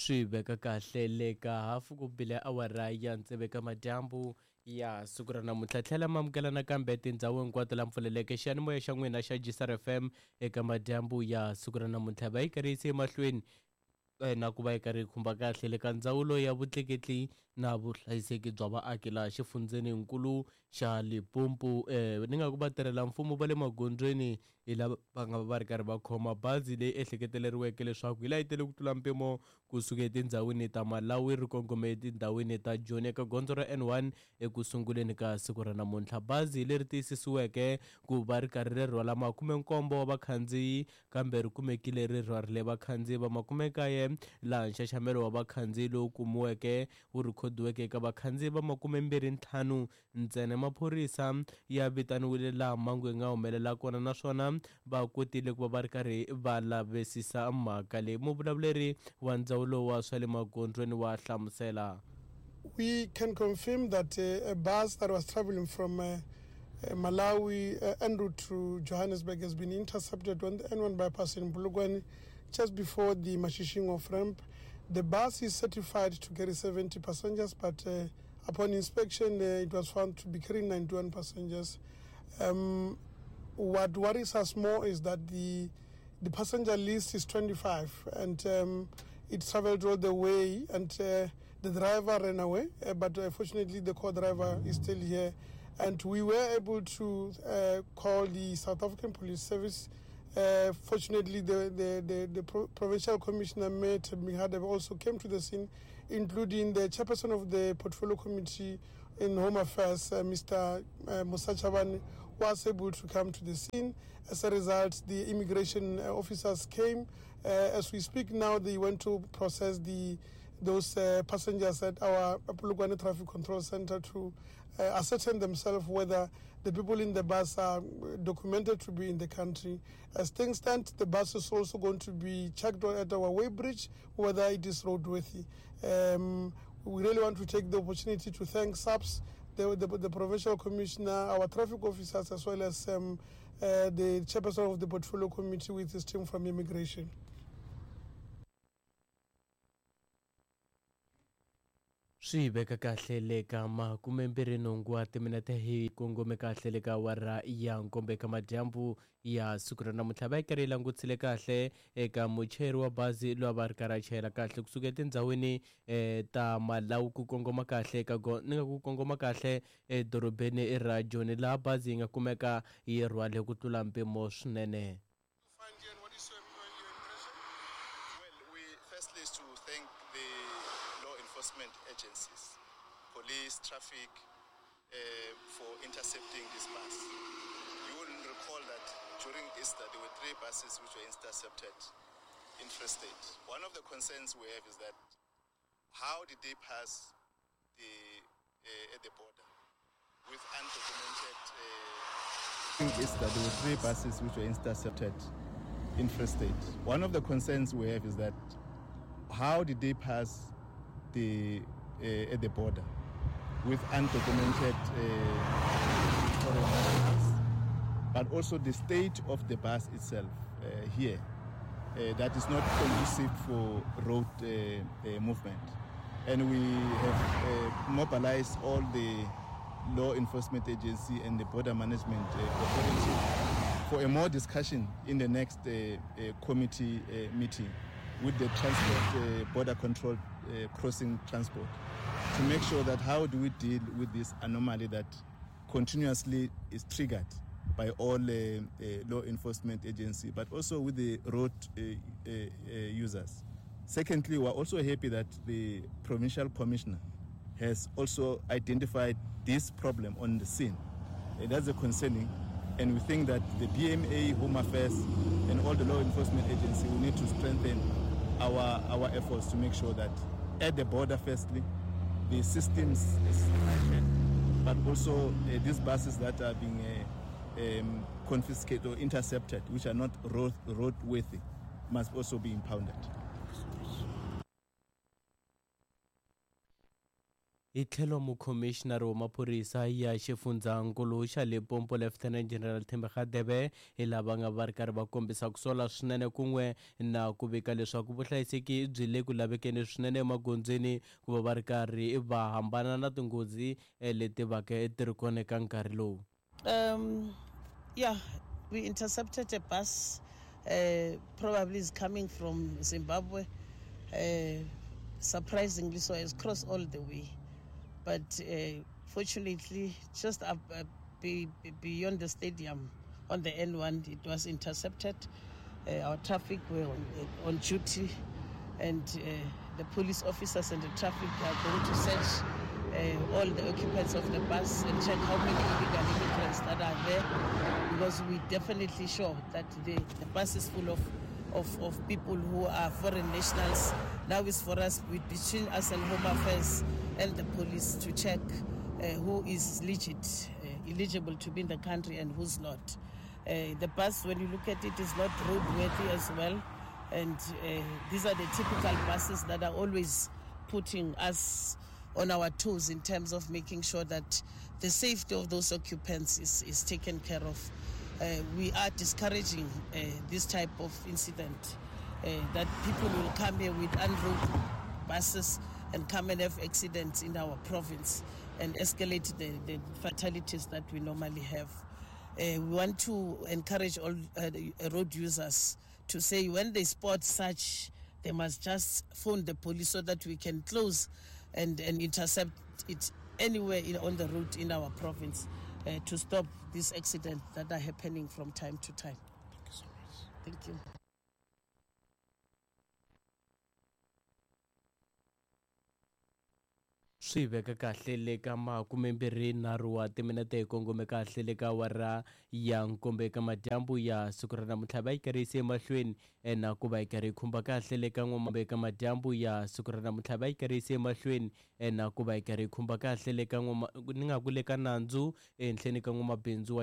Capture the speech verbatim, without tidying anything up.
Swi veka kahle le ka hafu ku bile awara ya tsevu eka madyambu ya siku ra namuntlha. Tlhela ma amukela nakambe tindhawu hinkwato la mpfuleleke xiyanimoya xa n'wina xa G S R F M eka madyambu ya siku ra namuntlha. Va yi karhi yise emahlweni na ku va yi karhi yi khumba kahle le ka ndzawulo ya vutleketli na vuhlayiseki bya vaaki laha xifundzeninkulu xa Limpopo. Eh, ni nga ku vatirhela mfumo va le magondzweni hi lava va nga va ri karhi va khoma bazi leyi ehleketeleriweke leswaku yi layitele ku tlula mpimo kusuka etindhawini ta Malawi ri kongome etindhawini ta Joni eka gondzo ra N one eku sunguleni ka siku ra namuntlha. Bazi leri tiyisisiweke ku va ri karhi ri rhwala makumenkombo wa vakhandziyi kambe ri kumekile ri rhwarile vakhandziyi va makumekaye, laha nxaxamelo wa vakhandziyi lowu kumiweke wu rhikhodiweke eka vakhandziyi va makumembirhi ntlhanu ntsena. Maphorisa ya vitaniwile laha mhangu yi nga humelela kona naswona va kotile ku va va ri karhi va lavisisa mhaka leyi. Muvulavuleri wa ndzawulo wa swa le magondzweni wa hlamusela. We can confirm that uh, a bus that was traveling from uh, Malawi uh, en route to Johannesburg has been intercepted on the N one bypass in Polokwane just before the Mashishing off-ramp. The bus is certified to carry seventy passengers, but uh, upon inspection, uh, it was found to be carrying ninety-one passengers. Um, what worries us more is that the, the passenger list is twenty-five, and um, it traveled all the way, and uh, the driver ran away, uh, but uh, fortunately the co-driver is still here. And we were able to uh, call the South African Police Service. Uh, fortunately, the, the, the, the Pro- Provincial Commissioner, Matt Mihadebe, also came to the scene, including the chairperson of the Portfolio Committee in Home Affairs, uh, Mister Uh, Musa Chabane, was able to come to the scene. As a result, the immigration officers came. Uh, as we speak now, they went to process the those uh, passengers at our Polokwane Traffic Control Center to uh, ascertain themselves whether the people in the bus are documented to be in the country. As things stand, the bus is also going to be checked at our weighbridge whether it is roadworthy. Um, we really want to take the opportunity to thank S A P S, the, the, the Provincial Commissioner, our traffic officers, as well as um, uh, the chairperson of the Portfolio Committee with his team from immigration. Swi veka kahle le ka makumembirhi nhungu wa timinete hi kongome kahle le ka awara ya nkombo eka madyambu ya siku ra namuntlha. Va yi karhi yi langutisile kahle eka muchayeri wa bazi loyi a va ri karhi a chayela kahle kusuka etindhawini ta Malawi ku kongoma kahle eka ni nga ku kongoma kahle edorobeni ra Joni, laha bazi yi nga kumeka yi rhwale ku tlula mpimo swinene. Agencies, police, traffic, uh, for intercepting this bus. You will recall that during Easter there were three buses which were intercepted in Free State. One of the concerns we have is that how did they pass the uh, at the border with undocumented? Uh, during Easter there were three buses which were intercepted in Free State. One of the concerns we have is that how did they pass the uh, at the border with undocumented uh, foreign nationals, but also the state of the bus itself uh, here uh, that is not conducive for road uh, uh, movement. And we have uh, mobilized all the law enforcement agency and the border management uh, authority for a more discussion in the next uh, uh, committee uh, meeting with the transport uh, border control uh, crossing transport to make sure that how do we deal with this anomaly that continuously is triggered by all uh, uh, law enforcement agency, but also with the road uh, uh, uh, users. Secondly, we're also happy that the provincial commissioner has also identified this problem on the scene. Uh, that's a concerning, and we think that the B M A, Home Affairs, and all the law enforcement agency will need to strengthen our, our efforts to make sure that at the border, firstly, the systems is tightened, but also uh, these buses that are being uh, um, confiscated or intercepted, which are not road, roadworthy, must also be impounded. Hi tlhelo mukhomixinari wa maphorisa ya xifundzankulu xa Limpopo Lieutenant General Themba Radebe hi lava nga va ri karhi va kombisa ku sola swinene kun'we na ku vika leswaku vuhlayiseki byi le ku lavekeni swinene emagondzweni ku va va ri karhi va hambana na tinghozi leti vaka ti ri kona eka nkarhi lowu. Um, yeah, we intercepted a bus, uh, probably is coming from Zimbabwe. Uh, surprisingly so, it's crossed all the way. But uh, fortunately, just up, uh, be, beyond the stadium on the N one, it was intercepted. Uh, our traffic were on, on duty, and uh, the police officers and the traffic are going to search uh, all the occupants of the bus and check how many illegal immigrants that are there, because we're definitely sure that the, the bus is full of, of, of people who are foreign nationals. Now it's for us, with, between us and Home Affairs and the police, to check uh, who is legit, uh, eligible to be in the country and who's not. Uh, the bus, when you look at it, is not roadworthy as well. And uh, these are the typical buses that are always putting us on our toes in terms of making sure that the safety of those occupants is, is taken care of. Uh, we are discouraging uh, this type of incident, uh, that people will come here with unroad buses and come and have accidents in our province and escalate the, the fatalities that we normally have. Uh, we want to encourage all uh, road users to say when they spot such, they must just phone the police so that we can close and, and intercept it anywhere in, on the route in our province uh, to stop these accidents that are happening from time to time. Thank you so much. Thank you. Swi veka kahle le ka makumembirhi nharhu wa timinete hi kongome kahle le ka awara ya nkombo eka madyambu ya siku ra namuntlha va yi karhi yise emahlweni na ku va yi karhi yi khumba kahle le ka n'wamambe eka madyambu ya siku ra namuntlha va yi karhi yise emahlweni na ku va yi karhi yi khumba kahle le ka n'wama ni nga ku le ka nandzu ehenhleni ka n'wamabindzu wa